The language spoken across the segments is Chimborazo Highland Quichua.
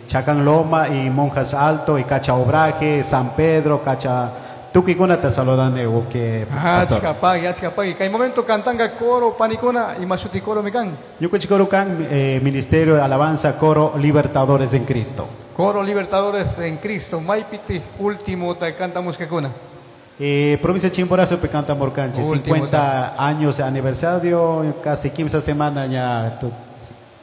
Chacán Loma y Monjas Alto y Cacha Obraje, San Pedro, Cacha tukuykuna saludani wawqi pastor. Achka pagui, achka pagui. Kay momento cantanga coro panikuna ima shuti coro mi kan. Ñukanchik coro kan Ministerio de Alabanza Coro Libertadores en Cristo. Coro Libertadores en Cristo. Maypiti último ta cantamushkakuna. Provincia Chimborazo pe cantamurkanchik, Último 50 años de aniversario, casi 15 semanas ya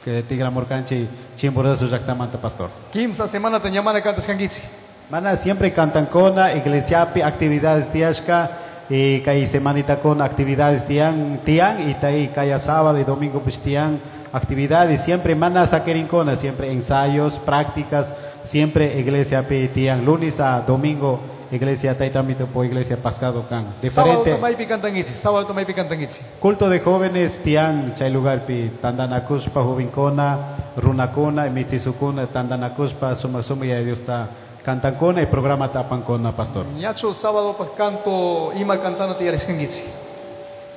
que tigramurkanchik Chimborazo llaktamanta, pastor. 15 semana te ñamana cantashkankichik. Mana siempre cantan con iglesiapi actividades tiashka y kay semanita con actividades tian tian y tai kaya sábado y domingo pues tian actividades siempre mana saquerincona siempre ensayos prácticas siempre iglesia pi tian lunes a domingo iglesia taitamito po iglesia pascado kan Sábado diferente tomaypi cantankichik, sábado tomaypi cantankichik. Culto de jóvenes tian chay lugar pi tandanakuspa jovencona runakuna mitizukuna tandanakuspa suma suma ya Dios ta cantancona y programa tapancona, pastor. Ñacho sábado pa canto ima cantando te yarishkankichik.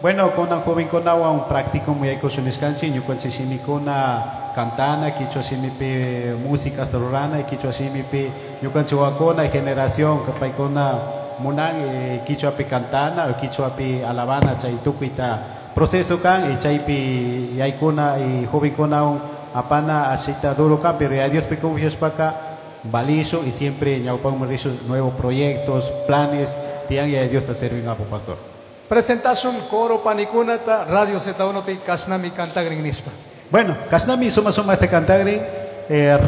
Bueno, con un joven con agua un práctico muy hay cosa niskanchi, ñukanchi shimikuna cantana, quichua shimipi música rurana, quichua shimipi ñukanchi wakona generación kapaykuna munan quichua pi cantana, quichua pi alabana chay tukuita proceso kan y chaypi yaykuna y joven con un apana asita duro kan, pero ya Dios pi confiaspaka balizo y siempre ñawpan rizo nuevos proyectos, planes, tian y a Dios te sirven apo pastor. Presentación coro panikunata Radio Z1 pi kasnami cantagrin nispa. Bueno, kasnami suma suma este cantagrin,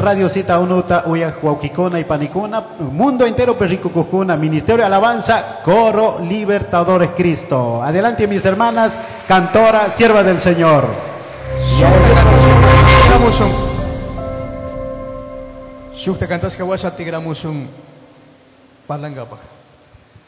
Radio Z1 ta uya huauquicona y panicuna, mundo entero perrico cujuna, Ministerio de Alabanza, Coro Libertadores Cristo. Adelante mis hermanas, cantora, sierva del Señor. Shukta cantashka washa tigramushun parlangapaj.